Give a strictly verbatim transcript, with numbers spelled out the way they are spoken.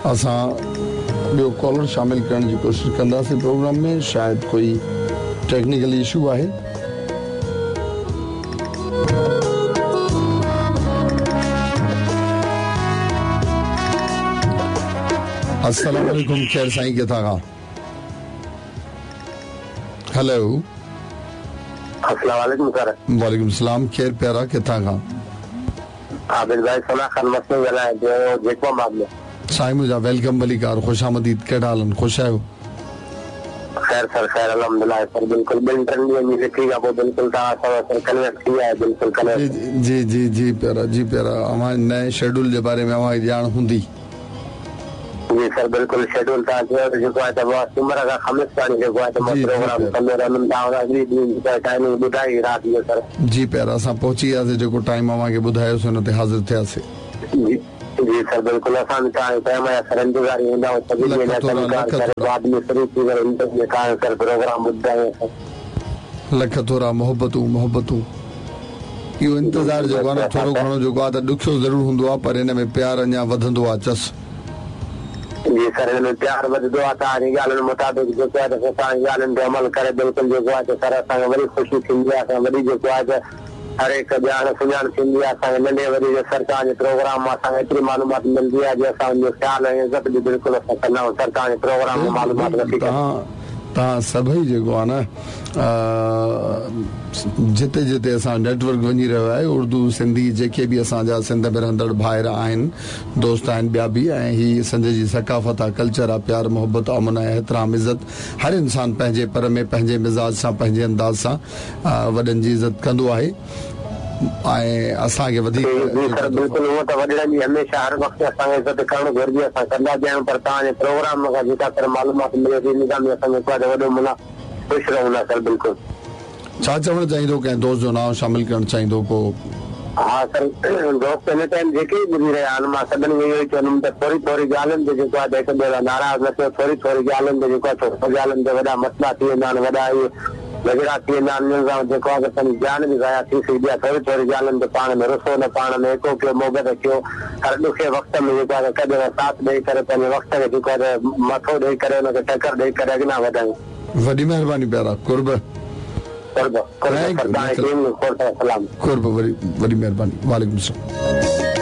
असां ॿियो कॉलर शामिल करण जी कोशिशि कंदासीं प्रोग्राम में, शायदि कोई टेक्निकल इशू आहे। अस्सलाम वालेकुम, खैर साईं किथां खां? हेलो, अस्सलाम वालेकुम सर। वालेकुम सलाम, खैर प्यारा किथां खां? आबिद भाई सना खान मसलो ॻाल्हायां पियो जेकोबाद में। साईं मुंहिंजा welcome भलीकार, ख़ुशि आमदीद, कहिड़ा हाल, ख़ुशि आहियो? ख़ैर सर, ख़ैर अल्हम्दुलिल्लाह सर, बिल्कुल ॿिनि टिनि ॾींहनि जी लिखी खां पोइ बिल्कुल तव्हां सां सर कनेक्ट थी विया आहे, बिल्कुल कनेक्ट। जी जी जी प्यारा, जी प्यारा, अव्हां नए शेड्यूल जे बारे में अव्हांखे ॼाण हूंदी? जी सर बिल्कुल, शेड्यूल तव्हां चयो त जेको आहे त मां सुमर खां ख़मीस ताईं जेको आहे त मां प्रोग्राम कंदो रहंदुमि, तव्हां अॻिले ॾींहुं टाइमिंग ॿुधाई राति जो सर। जी प्यारा, असां पहुची वियासीं, जेको टाइम अव्हांखे ॿुधायोसीं उन ते हाज़िर थियासीं। जी जी सर बिल्कुल, असां बि तव्हांजे टाइम जा सर इंतज़ार ई हूंदा सभिनी लाइ, बाद में फ्री थी करे तव्हांजो सर प्रोग्राम ॿुधायो सर। लख थोरा, मोहबतूं मोहबतूं। इहो इंतज़ार जेको आहे न थोरो घणो जेको आहे त ॾुखियो ज़रूरु हूंदो आहे, पर हिन में प्यार अञा वधंदो आहे। चस जी सर, हिन में प्यार वधंदो आहे, तव्हांजी ॻाल्हियुनि मुताबिक़ जेको आहे त तव्हांजी ॻाल्हियुनि ते अमल करे बिल्कुलु जेको आहे त सर असांखे वरी ख़ुशी थींदी आहे, असां वरी जेको आहे त हर हिकु ॼाण सुञाण थींदी आहे असांखे नंढे वॾे जो सर तव्हांजे प्रोग्राम मां असांखे एतिरी मालूमात मिलंदी आहे जो असां उनजो ख़्यालु ऐं इज़त बि बिल्कुलु असां कंदा आहियूं सर तव्हांजे प्रोग्राम मां मालूमात वठी करे। तव्हां तव्हां सभई जेको आहे न जिते जिते असां नेटवर्क वञी रहियो आहे, उर्दू सिंधी जेके बि असांजा सिंध में रहंदड़ भाइर आहिनि, दोस्त आहिनि ॿिया बि, ऐं हीअ सिंध जी सकाफ़त आहे, कल्चर आहे, प्यार मोहबत अमन ऐं एतिराम इज़त, हर इंसान पंहिंजे पर में पंहिंजे मिज़ाज सां पंहिंजे अंदाज़ सां वॾनि जी इज़त कंदो आहे ऐं असांखे वधीक बिल्कुलु उहो त वॾड़नि जी हमेशह हर वक़्तु असांखे इज़त करणु घुरिजे, असां कंदा बि आहियूं, पर तव्हांजे प्रोग्राम खां जेका सर मालूमात मिले थी इन सां बि असां जेको आहे वॾो मुना ख़ुशि रहूं था सर। बिल्कुलु छा चवणु चाहींदो, कंहिं दोस्त जो नाम शामिल करणु चाहींदो को? हा सर, दोस्त हिन टाइम जेके बि ॿुधी रहिया आहिनि, मां सभिनी खे इहो ई चवंदुमि त थोरी थोरी ॻाल्हियुनि ते जेको आहे त हिक ॿिए लाइ नाराज़ न थियो, थोरी थोरी ॻाल्हियुनि ते जेको आहे थोरी ॻाल्हियुनि ते वॾा मसइला थी वेंदा आहिनि, वॾा इहे झगड़ा थी वेंदा आहिनि, उन्हनि सां जेको आहे त पंहिंजी जान बि ज़ाया थी सघंदी आहे। थोरी थोरी ॻाल्हियुनि ते पाण में रुसो न, पाण में एको कयो, मोहबत कयो, हर ॾुखे वक़्त में जेको आहे कॾहिं साथ ॾेई करे पंहिंजे वक़्त खे जेको आहे मथो ॾेई करे हुनखे टकर ॾेई करे अॻियां वधायूं। वॾी महिरबानी प्यारा, कुर्ब कुर्ब, वॾी महिरबानी, वालेकुम सलाम।